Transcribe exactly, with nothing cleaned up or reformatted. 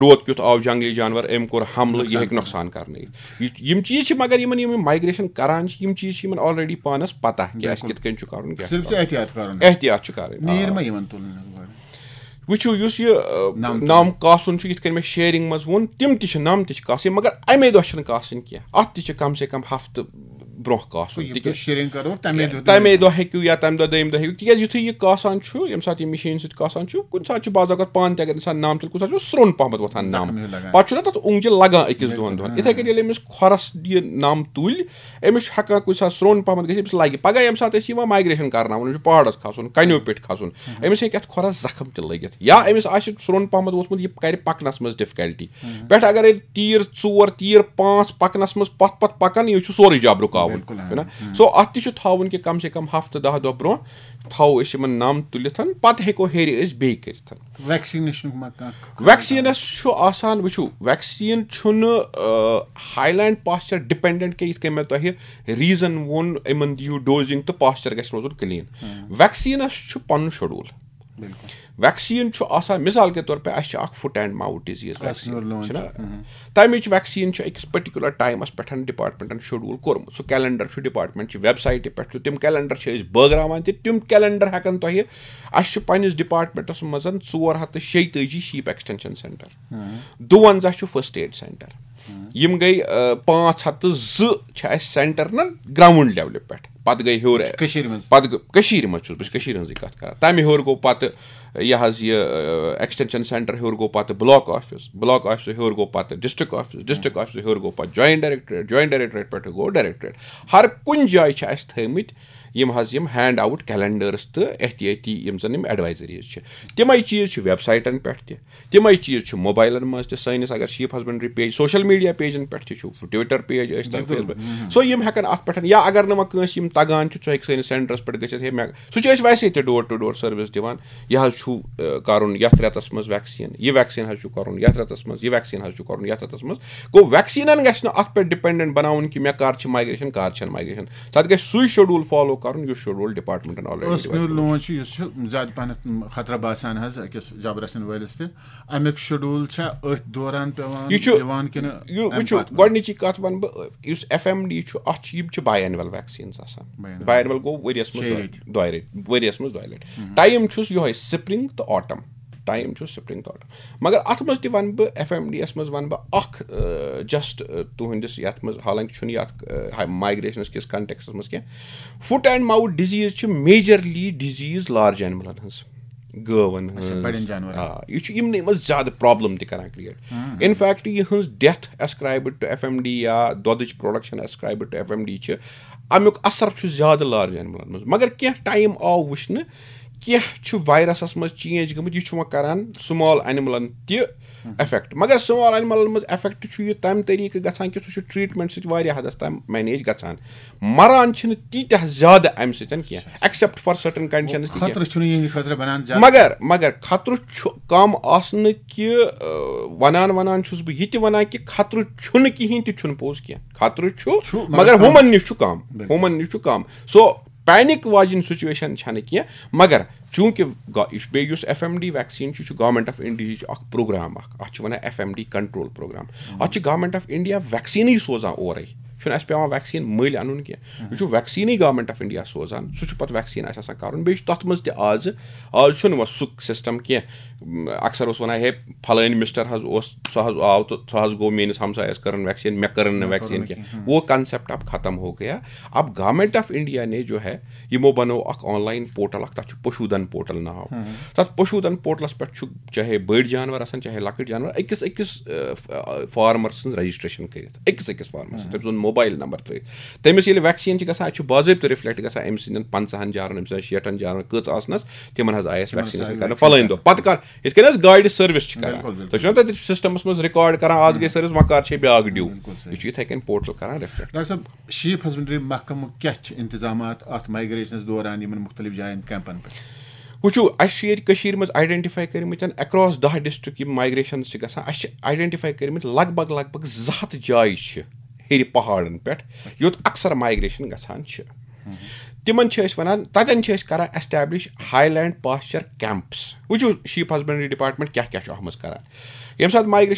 روت کیُتھ آو، جنگلی جانور، أمۍ کوٚر حملہٕ، یہِ ہیٚکہِ نۄقصان کرنٲیِتھ۔ یہِ، یِم چیٖز چھِ، مگر یِمن یِم مایگریشن کران چھِ، یِم چیٖز چھِ یِمن آلریڈی پانس پتہ کہِ اَسہِ بِلکُل۔ کِتھ کٔنۍ چھُ کرُن، کیٛاہ چھُ صرف چھُ کرُن۔ احتیاط کرُن۔ احتیاط چھُ کرٕنۍ، آ۔ نیٖر ما یِمن تُلنہٕ گۄڈٕ؟ وٕچھِو، یُس یہِ، آ، نَم تُلُن۔ نَم کاسُن چھُ، یِتھ کٔنۍ مےٚ شیئرنگ منٛز ووٚن، تِم تہِ چھِ، نَم تہِ چھِ کاسٕنۍ، مگر اَمے دۄہ چھِنہٕ کاسٕنۍ کینٛہہ۔ اَتھ تہِ چھِ کم سے کم ہفتہٕ برونٛہہ کاسُن، یہِ تِکیٛازِ شیئرنگ کرو، تَمے دۄہ تَمے دۄہ ہیٚکِو یا تَمہِ دۄہ دوٚیِمہِ دۄہ ہیٚکِو، تِکیٛازِ یُتھُے یہِ کاسان چھُ، ییٚمہِ ساتہٕ یہِ مِشیٖن سۭتۍ کاسان چھُ، کُنہِ ساتہٕ چھُ بعض اوقات پانہٕ تہِ اگر اِنسان نَم تُلہِ، کُنہِ ساتہٕ چھُ سرٛوٚن پَہمَتھ وۄتھان نَم۔ زخم ہیوٗ لگان۔ پَتہٕ چھُنہ تَتھ اوٚنٛگجہِ لگان أکِس دۄن دۄہَن۔ بِلکُل۔ یِتھَے کٔنۍ ییٚلہِ أمِس کھۄرَس یہِ نَم تُلۍ، أمِس چھُ ہٮ۪کان کُنہِ ساتہٕ سرٛوٚن پَہمَتھ گٔژھِتھ، أمِس لَگہِ۔ پَگاہ ییٚمہِ ساتہٕ أسۍ یِوان مایگریشَن کَرناوُن، أمِس چھُ پہاڑَس کھسُن، کَنیو پٮ۪ٹھ کھسُن، أمِس ہیٚکہِ اَتھ کھۄرَس زخم تہِ لٔگِتھ۔ یا أمِس آسہِ سرٛوٚن پَہمَتھ ووتھمُت، یہِ کَرِ پَکنَس منٛز ڈِفکَلٹی۔ پٮ۪ٹھٕ اگر ییٚلہِ تیٖر ژور، تیٖر پانٛژھ پَکنَس منٛز پَتھ پَتھ پَکَن، یہِ چھُ سورُے جب رُکاوُن۔ بِلکُل، چھُنہ؟ ہاں۔ سو، اَتھ تہِ چھُ تھاوُن کہِ کم سے کم ہفتہٕ دَہ دۄہ برونٛہہ تھاوو أسۍ یِمَن نَم تُلِتھ، پَتہٕ ہٮ۪کو ہیٚرِ أسۍ بیٚیہِ کٔرِتھ۔ ویکسِنیشنُک ما کانٛہہ؟ ویکسیٖنَس چھُ آسان، وٕچھِو، ویکسیٖن چھُنہٕ، آ، ہاے لینڈ پاسچر ڈِپینڈنٹ کینٛہہ، یِتھ کٔنۍ مےٚ تۄہہِ ریٖزن ووٚن، یِمن دِیِو ڈوزِنگ تہٕ پاسچر گژھِ روزُن کٕلیٖن۔ ویکسیٖنَس چھُ پَنُن شیڈول۔ بِلکُل۔ ویکسیٖن چھُ آسان، مثال کے طور پہ، اَسہِ چھِ اَکھ فُٹ اینڈ ماوُتھ ڈِزیٖز اَسہِ ویکسیٖن۔ یور لون چھُنہ؟ چھُ۔ تَمِچ ویکسیٖن چھِ أکِس پٔٹِکیوٗلَر ٹایمَس پٮ۪ٹھ ڈِپارٹمنٹَن شیڈول کوٚرمُت۔ سُہ کیلنڈر چھُ ڈِپارٹمنٹ چہِ ویب سایٹہِ پٮ۪ٹھ تہِ، تِم کیلنڈر چھِ أسۍ بٲگراوان تہِ۔ تِم کیلنڈر ہٮ۪کَن تۄہہِ، اَسہِ چھُ پنٛنِس ڈِپارٹمنٹَس منٛز ژور ہَتھ تہٕ شیٚیہِ تٲجی شیٖپ ایکسٹینشن سینٹر، دُوَنزاہ چھُ فرسٹ ایڈ سینٹر۔ یِم گٔے، آ، پانٛژھ ہَتھ تہٕ زٕ چھِ اَسہِ سینٹر نہ گراؤنڈ لیولہِ پٮ۪ٹھ۔ پَتہٕ گٔے ہیوٚر۔ کٔشیٖرِ منٛز؟ پَتہٕ گٔے، کٔشیٖرِ منٛز چھُس بہٕ، أسۍ چھِ کٔشیٖرِ ہٕنٛزٕے کَتھ کَران۔ تَمہِ ہیوٚر گوٚو پَتہٕ یہِ حظ یہِ، آ، ایکسٹینشن سینٹر ہیوٚر گوٚو پَتہٕ بلاک آفس، بلاک آفسہٕ ہیوٚر گوٚو پَتہٕ ڈسٹرکٹ آفس، ڈسٹرکٹ آفسہٕ ہیوٚر گوٚو پَتہٕ جوائنٹ ڈائریکٹریٹ، جوائنٹ ڈائریکٹریٹ پٮ۪ٹھ گوٚو ڈائریکٹریٹ۔ ہر کُنہِ جایہِ چھِ اَسہِ تھٲومٕتۍ یِم حظ یِم ہینڈ آوُٹ کیلنڈرس تہٕ احتیاطی یِم زَن یِم ایڈوائزریٖز چھِ۔ تِمے چیٖز چھِ ویب سایٹن پٮ۪ٹھ تہِ، تِمے چیٖز چھِ موبایلن منٛز تہِ۔ سٲنِس اگر sheep husbandry page, social media Pigeon پٮ۪ٹھ تہِ چھُ، ٹویٹر پیج ٲسۍ تن، بِلکُل۔ Face book. سو یِم ہٮ۪کن اتھ پٮ۪ٹھ، یا اگر نہٕ وۄنۍ کٲنٛسہِ یِم تگان چھُ، سُہ ہیٚکہِ سٲنِس سینٹرس پٮ۪ٹھ گٔژھِتھ۔ ہے، مےٚ، سُہ چھُ أسۍ ویسے تہِ ڈور ٹو ڈور سروس دِوان۔ یہِ حظ چھُ، آ، کرُن یتھ رٮ۪تس منٛز ویکسیٖن، یہِ ویکسیٖن حظ چھُ کرُن یتھ رٮ۪تس منٛز، یہِ ویکسیٖن حظ چھُ کرُن یتھ رٮ۪تس منٛز۔ گوٚو، ویکسیٖنن گژھِ نہٕ اتھ پٮ۪ٹھ ڈِپینڈنٹ بناوُن کہِ مےٚ کر چھِ مایگریشن، کر چھنہٕ مایگریشن۔ تتھ گژھِ سُے شیڈول فالو کرُن، یُس شیڈول ڈِپارٹمنٹ آلریڈی ٲسمہِ لون چھُ، یُس چھُ زیادٕ پہنتھ خطرٕ باسان حظ أکِس جبر رسن وٲلِس تہِ۔ اَمیُک شیڈول چھا أتھۍ دوران پٮ۪وان یہِ چھُ، یِوان کِنہٕ یہِ، اَمہِ وٕچھِو، پتہٕ؟ گۄڈٕنِچی کَتھ وَنہٕ بہٕ، یُس ایف ایم ڈی چھُ، اَتھ چھُ، یِم چھِ باے اینول ویکسیٖنز آسان۔ باے اینول۔ باے اینول گوٚو ؤریَس منٛز شیٚیہِ دۄ-، لَٹہِ۔ دۄیہِ لَٹہِ، ؤریَس منٛز دۄیہِ لَٹہِ۔ ٹایم چھُس یِہوٚے، سپرنگ تہٕ آٹم۔ ٹایم چھُ سپرنگ تہٕ آٹم۔ مگر اَتھ منٛز تہِ وَنہٕ بہٕ، ایف ایم ڈی یَس منٛز وَنہٕ بہٕ اَکھ، آ، جسٹ، آ، تُہٕنٛدِس یَتھ منٛز، حالانکہِ چھُنہٕ یَتھ، آ، مایگریشنَس کِس کنٹیکسٹَس منٛز کینٛہہ۔ فُٹ اینڈ ماوُتھ ڈِزیٖز چھِ میجرلی ڈِزیٖز لارج اینملَن ہٕنٛز۔ گٲوَن اچھا، ہٕنٛز۔ بڑٮ۪ن جانورن۔ آ، یہِ چھُ یِمنٕے منٛز زیادٕ پرابلم تہِ کران کریٹ۔ ان فیکٹ، یِہٕنٛز death ascribed to F M D یا دۄدٕچ production ascribed to F M D چھِ، امیُک اثر چھُ زیادٕ لارج اینملن منٛز۔ مگر کینٛہہ ٹایم آو وٕچھنہٕ، کینٛہہ چھُ وایرسس منٛز چینج گٔمٕتۍ، یہِ چھُ وۄنۍ کران سمال اینملن تہِ افیکٹ۔ مگر سمال اینملن منٛز افیکٹ چھُ یہِ تمہِ طریقہٕ گژھان کہِ سُہ چھُ ٹریٹمنٹ سۭتۍ واریاہ حدس تام مینیج گژھان۔ مران چھِنہٕ تیٖتیٛاہ زیادٕ اَمہِ سۭتۍ کینٛہہ، ایکسپٹ فار سرٹن کنڈیشنز تہِ کینٛہہ۔ خطرٕ چھُنہٕ یِہنٛدِ خٲطرٕ بنان زیادٕ۔ مگر، مگر خطرٕ چھُ کم آسنہٕ کہِ، آ، ونان ونان چھُس بہٕ یہِ تہِ ونان کہِ خطرٕ چھُنہٕ کِہیٖنۍ تہِ چھُنہٕ پوٚز کینٛہہ۔ خطرٕ چھُ، چھُ، مگر مگر کم۔ ہُمن نِش چھُ کم۔ بِلکُل۔ ہُمن نِش چھُ کم۔ سو، پینک واجِنۍ سچویشن چھنہٕ کینٛہہ، مگر چوٗنٛکہِ گا-، یہِ چھُ بیٚیہِ یُس ایف ایم ڈی ویکسیٖن چھُ، یہِ چھُ گورنمنٹ آف انڈیا ہٕچ اکھ پروگرام اکھ، اتھ چھِ ونان F M D control programme. اتھ چھِ گورنمنٹ آف انڈیا ویکسیٖنٕے سوزان اورے، چھُنہٕ اَسہِ پٮ۪وان ویکسیٖن مٔلۍ اَنُن کینٛہہ۔ یہِ چھُ ویکسیٖنٕے گورنمنٹ آف انڈیا سوزان، سُہ چھُ پتہٕ ویکسیٖن اَسہِ آسان کَرُن۔ بیٚیہِ چھُ تَتھ منٛز تہِ آزٕ، آز چھُنہٕ وۄنۍ سُہ سسٹم کینٛہہ۔ م، اکثر اوس وَنان، ہے، فلٲنۍ مسٹر حظ اوس، سُہ حظ آو تہٕ سُہ حظ گوٚو میٲنِس ہمسایَس کٔرٕن ویکسیٖن، مےٚ کٔرٕن نہٕ مےٚ کٔرٕن ویکسیٖن نہٕ کینٛہہ۔ کینٛہہ۔ وہ کانسیپٹ اب ختم ہو گیا۔ اب گورنمنٹ آف انڈیا نے جو ہے، یِمو بنوو اکھ آن لاین پورٹل اکھ، تَتھ چھُ پشودھن پورٹل ناو۔ تَتھ پشودھن پورٹلس پٮ۪ٹھ چھُ چاہے بٔڑۍ جانور آسن، چاہے لۄکٕٹۍ جانور، أکِس أکِس، آ، ف-، آ، فارمر سٕنٛز رجسٹریشن کٔرِتھ، أکِس أکِس فارمر سٕنٛز، تٔمۍ سُنٛد موبایل نمبر ترٲیِتھ۔ تٔمِس ییٚلہِ ویکسیٖن چھِ گژھان، اَتہِ چھُ باضٲبطہٕ رِفلیکٹ گژھان أمۍ سٕنٛدٮ۪ن پنٛژاہن جانورن، أمۍ سٕنٛدٮ۪ن شیٹھن جانورن کٔژ آسنس، تِمن حظ آیہِ اَسہِ تِمن ویکسیٖن حظ آیہِ گژھان کرنہٕ ویکسیٖن فلٲنۍ دۄہ۔ پتہٕ کر، یِتھ کٔنۍ حظ گاڑِ سٔروِس چھِ کران۔ بِلکُل، بِلکُل۔ تُہۍ چھِو نا تَتہِ سسٹمس منٛز ریکارڈ کران، آز گٔے سٔروِس، وۄنۍ کر چھے بیاکھ ڈیو۔ بِلکُل صحیح۔ یہِ چھُ یِتھَے کٔنۍ پورٹل کران ریفلیکٹ۔ ڈاکٹر صٲب، شیٖپ ہسبنڈری محکمہٕ کیٛاہ چھِ انتظامات اَتھ مائگریشنس دوران یِمن مُختٔلِف جاین کیمپن پٮ۪ٹھ؟ وٕچھِو، اَسہِ چھِ ییٚتہِ کٔشیٖرِ منٛز آیڈینٹیفائی کٔرمٕتۍ اکراس دَہ ڈسٹرکٹ یِم مائگریشنز چھِ گژھان، اَسہِ چھِ آیڈینٹیفائی کٔرمٕتۍ لگ بگ، لگ بگ زٕ ہَتھ جایہِ چھِ ہیٚرِ پہاڑن پٮ۪ٹھ، یوٚت اکثر مائگریشن گژھان چھِ۔ تِمن چھِ أسۍ وَنان، تَتٮ۪ن چھِ أسۍ کران establish highland pasture camps. وٕچھِو، شیٖپ ہسبنڈری ڈپارٹمنٹ کیٛاہ کیٛاہ چھُ اَتھ منٛز کران۔ ییٚمہِ ساتہٕ migration